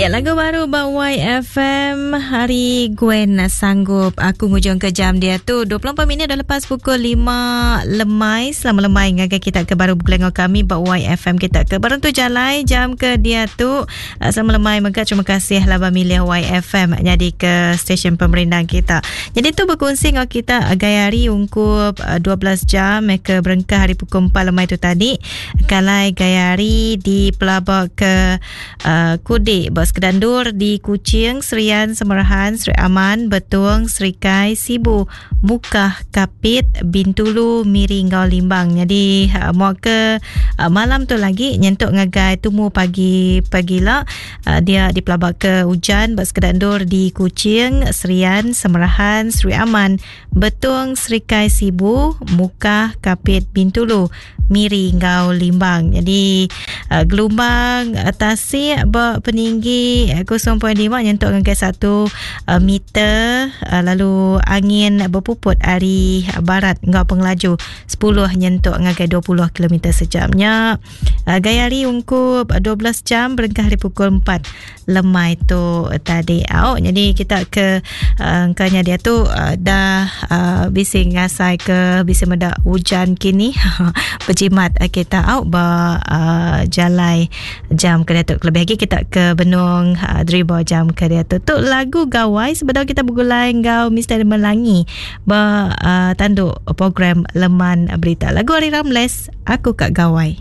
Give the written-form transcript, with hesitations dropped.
Ya lagu baru ba YFM hari Gwen sanggup aku ngujung ke jam dia tu 24 minit dah lepas pukul 5 lemai selamat lemai ngagai kita ke baru begulai enggau kami ba YFM kita ke baru tu jalai jam ke dia tu eh, selamat lemai mega terima kasih laban milih YFM jadi ke stesen pemerindang kita. Jadi tu berkongsi enggau kita gaya hari ungkup 12 eh, jam ke berengkah hari pukul 4 lemai tu tadi kalai gaya hari di pelaba ke uh, Kudik ba sekeda endur di Kuching, Serian, Semerahan, Sri Aman, Betong, Serikai, Sibu, Mukah, Kapit, Bintulu, Miri enggau Limbang. Jadi uh, mua ke uh, malam tu lagi nyentuk ngagai tumu pagi pagila uh, dia dipelaba ke ujan ba sekeda endur di Kuching, Serian, Semerahan, Sri Aman, Betong, Serikai, Sibu, Mukah, Kapit, Bintulu, Miri enggau Limbang. Jadi uh, gelumbang uh, tasik ba peninggi 0.5 eh, nyentuk ngagai 1 uh, meter uh, lalu angin berpuput ari barat enggau pengelaju 10 nyentuk ngagai 20 km sejamnya. Uh, gaya hari ungkup 12 jam berengkah hari pukul 4 lemai tu tadi. Au, jadi kita ke uh, engkanya dia tu uh, dah uh, bisi ngasai ke bisi meda hujan kini berjimat uh, kita au ba uh, jalai jam ke diatu. Kelebih lagi kita ke benung uh, driba jam ke diatu. Tu lagu gawai sebedau kita begulai enggau Mr. Melangi ba uh, tanduk program Leman Berita. Lagu Ari Ramles Aku Ka Gawai.